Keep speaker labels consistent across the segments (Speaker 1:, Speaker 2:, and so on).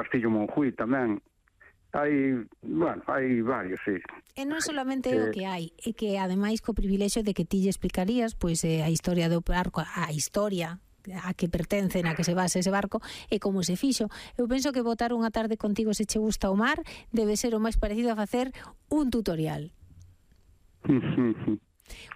Speaker 1: Castillo Monjuí tamén. Hai varios, sí.
Speaker 2: E non solamente o que hai, é que ademais co privilexio de que ti lle explicarías pois a historia do barco, a historia a que pertencen, a que se basa ese barco e como se fixo. Eu penso que botar unha tarde contigo se che gusta o mar debe ser o máis parecido a facer un tutorial.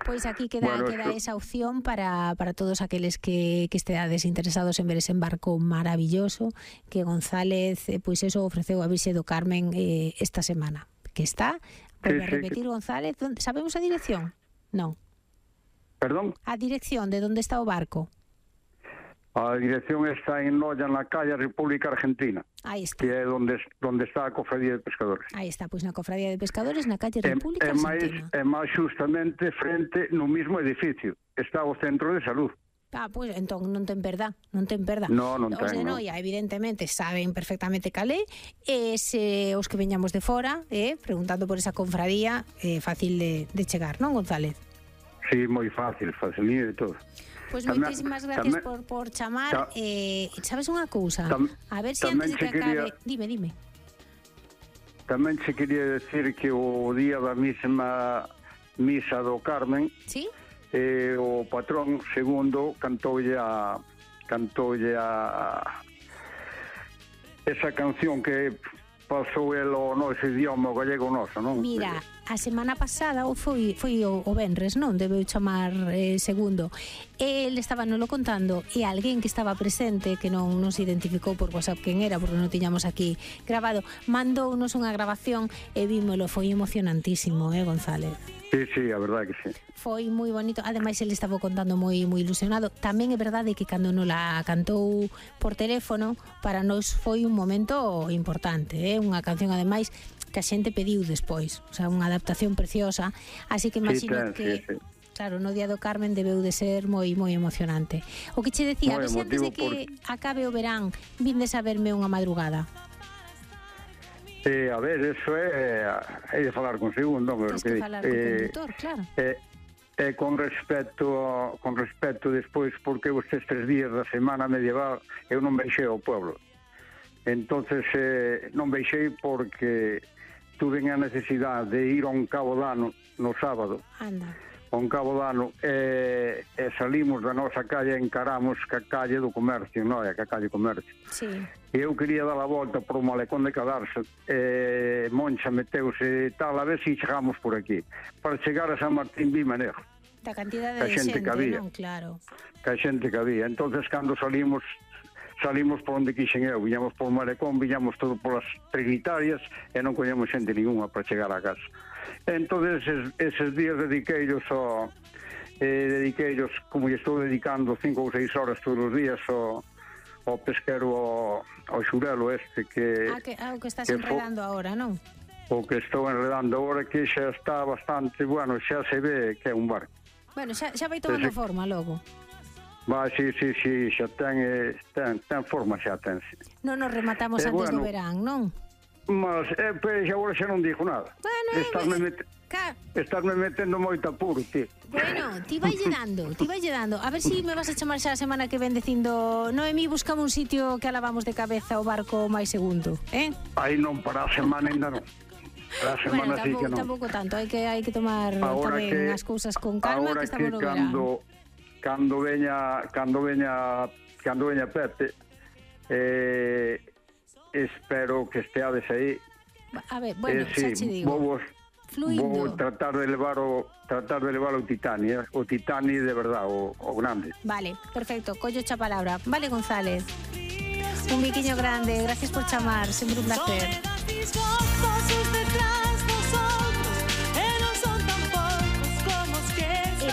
Speaker 2: Pois aquí queda esa opción para todos aqueles que esteades interesados en ver ese barco maravilloso que González pois eso ofreceu a Virxe do Carmen esta semana, que está, volve a repetir González, sabemos a dirección? Non.
Speaker 1: Perdón?
Speaker 2: A dirección de onde está o barco.
Speaker 1: A dirección está en Noia, na calle República Argentina.
Speaker 2: Aí está.
Speaker 1: Que é onde está a Cofradía de Pescadores.
Speaker 2: Aí está, pois na Cofradía de Pescadores, na calle República Argentina.
Speaker 1: É máis justamente frente no mismo edificio. Está o centro de salud.
Speaker 2: Pois entón non ten perda, non ten perda.
Speaker 1: Non
Speaker 2: os de Noia, evidentemente, saben perfectamente calé, e se os que veñamos de fora, preguntando por esa confradía, fácil de chegar, non, González?
Speaker 1: Sí, moi fácil, facilito de todo.
Speaker 2: Pois moitísimas gracias por chamar. Sabes unha cousa? A ver se antes de que acabe... Dime.
Speaker 1: Tamén se quería decir que o día da mesma misa do Carmen,
Speaker 2: ¿sí?
Speaker 1: O patrón segundo cantoulle esa canción que pasou el o noso idioma gallego noso, non?
Speaker 2: Mira, a semana pasada foi o venres, non? Debeu chamar segundo. El estaba nolo contando e alguén que estaba presente, que non nos identificou por WhatsApp quen era, porque non tiñamos aquí grabado, mandounos unha grabación e vímolo, foi emocionantísimo, González?
Speaker 1: Sí, a verdade que sí.
Speaker 2: Foi moi bonito, ademais ele estaba contando moi ilusionado. Tamén é verdade que cando nos la cantou por teléfono, para nós foi un momento importante, unha canción ademais que a xente pediu despois, o sea, unha adaptación preciosa, así que imagino que claro, no día do Carmen debeu de ser moi emocionante. O que che decía, a ver se antes de que acabe o verán vindes a verme unha madrugada.
Speaker 1: A ver, eso é de falar con segundo,
Speaker 2: tens que falar con conductor, claro.
Speaker 1: Con respecto despois, porque estes 3 días da semana medieval eu non veixei ao pueblo. Entonces non veixei porque tuve a necesidade de ir a un cabo dano no sábado.
Speaker 2: Anda.
Speaker 1: A un cabo dano e salimos da nosa calle e encaramos ca calle do comercio, non é? Ca calle comercio.
Speaker 2: Sí.
Speaker 1: E eu quería dar a volta por o malecón de Cadarso, Moncha meteuse tal, a ver se chegamos por aquí. Para chegar a San Martín Vimanejo.
Speaker 2: Da cantidade de xente que había, non? Claro.
Speaker 1: Que a xente que había. Entonces, cando salimos por onde quixen eu, viñamos por Malecón, viñamos todo polas trinitarias e non coñemos xente ninguna para chegar a casa. Entonces, eses días dediqueillos como lle estou dedicando 5 ou 6 horas todos os días ao pesquero, ao xurelo este que...
Speaker 2: O que estás enredando agora, non?
Speaker 1: O que estou enredando agora, que xa está bastante, bueno, xa se ve que é un barco.
Speaker 2: Bueno, xa vai tomando forma logo.
Speaker 1: Sí, xa ten forma, xa ten.
Speaker 2: Non nos rematamos antes do verán, non?
Speaker 1: Mas, agora xa non digo nada.
Speaker 2: Bueno,
Speaker 1: Estásme metendo moito apuro, ti.
Speaker 2: Bueno, ti vai dando. A ver se me vas a chamar xa a semana que ven dicindo Noemí, buscame un sitio que alavamos de cabeza o barco máis segundo,
Speaker 1: Aí non, para a semana ainda non. Para a semana sí que non.
Speaker 2: Tampouco tanto, hai que tomar tamén as cousas con calma, que estamos no verán.
Speaker 1: Cando veña Pepe, espero que esteades aí.
Speaker 2: A ver, bueno, xa che digo.
Speaker 1: Vou tratar de levar o Titani, o Titani de verdad, o grande.
Speaker 2: Vale, perfecto, collo xa palabra. Vale, González. Un biquiño grande, gracias por chamar, sempre un placer.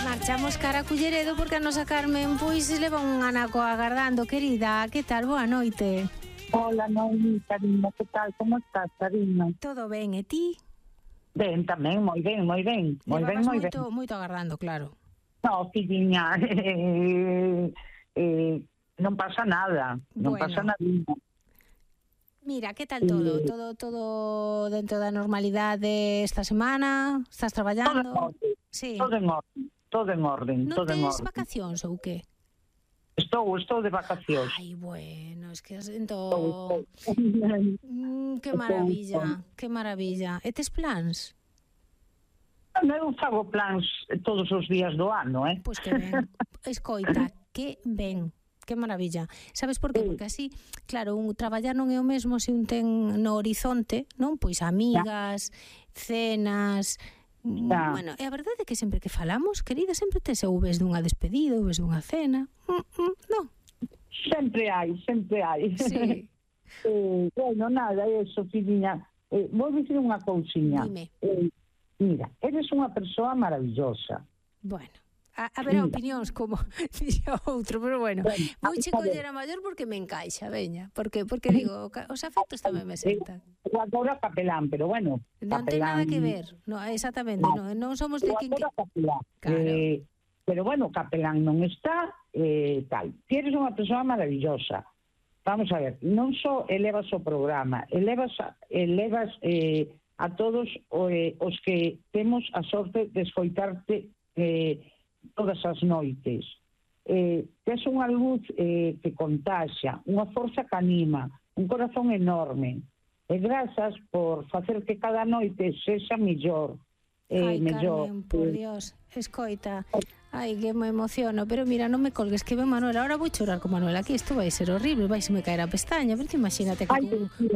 Speaker 2: Marchamos cara a Culleredo porque a nosa Carmen pois leva un anaco agardando. Querida, que tal? Boa noite.
Speaker 3: Hola, Noemi, cariño, que tal? Como estás, cariño?
Speaker 2: Todo ben, e ti?
Speaker 3: Ben, tamén, moi ben.
Speaker 2: Levabas moito agardando, claro.
Speaker 3: No, filliña, non pasa nada, non pasa nada.
Speaker 2: Mira, que tal todo? Todo dentro da normalidade esta semana? Estás traballando?
Speaker 3: Todo en orden.
Speaker 2: Non tens vacacións ou que?
Speaker 3: Estou de vacacións.
Speaker 2: Ai, bueno, es que entón... que maravilla, que maravilla. E tes plans?
Speaker 3: Eu fago plans todos os días do ano,
Speaker 2: Pois que ben. Escoita, que ben. Que maravilla. Sabes por qué? Porque así, claro, traballar non é o mesmo se un ten no horizonte, non? Pois amigas, cenas... Bueno, e a verdade é que sempre que falamos, querida, sempre tes ou ves dunha despedida ou ves dunha cena. Non?
Speaker 3: Sempre hai.
Speaker 2: Sí.
Speaker 3: Bueno, nada, eso, filliña. Vou dicir unha cousiña.
Speaker 2: Dime.
Speaker 3: Mira, eres unha persoa maravillosa.
Speaker 2: Bueno, haberá opinións como dixo outro, pero bueno, vou che coller a maior porque me encaixa, veña, porque digo, os afectos tamén me sentan.
Speaker 3: Eu adoro Capelán, pero bueno,
Speaker 2: non ten nada que ver, no, exactamente, non somos de quen que...
Speaker 3: Claro. Pero bueno, Capelán non está, tal. Ti eres unha persoa maravillosa. Vamos a ver, non só elevas o programa, elevas a todos os que temos a sorte de escoitarte todas as noites. Tes unha luz que contaxa, unha forza que anima, un corazón enorme. E grazas por facer que cada noite sexa mellor.
Speaker 2: Ai,
Speaker 3: mellor.
Speaker 2: Carmen, por Dios, escoita. Ai, que me emociono, pero mira, non me colgues, que ve Manuel, ahora vou chorar con Manuel aquí, isto vai ser horrible, vai se me caer a pestaña, pero imagínate que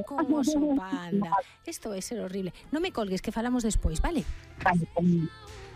Speaker 2: con un oso panda, isto vai ser horrible. Non me colgues, que falamos despois, vale?
Speaker 3: Vale,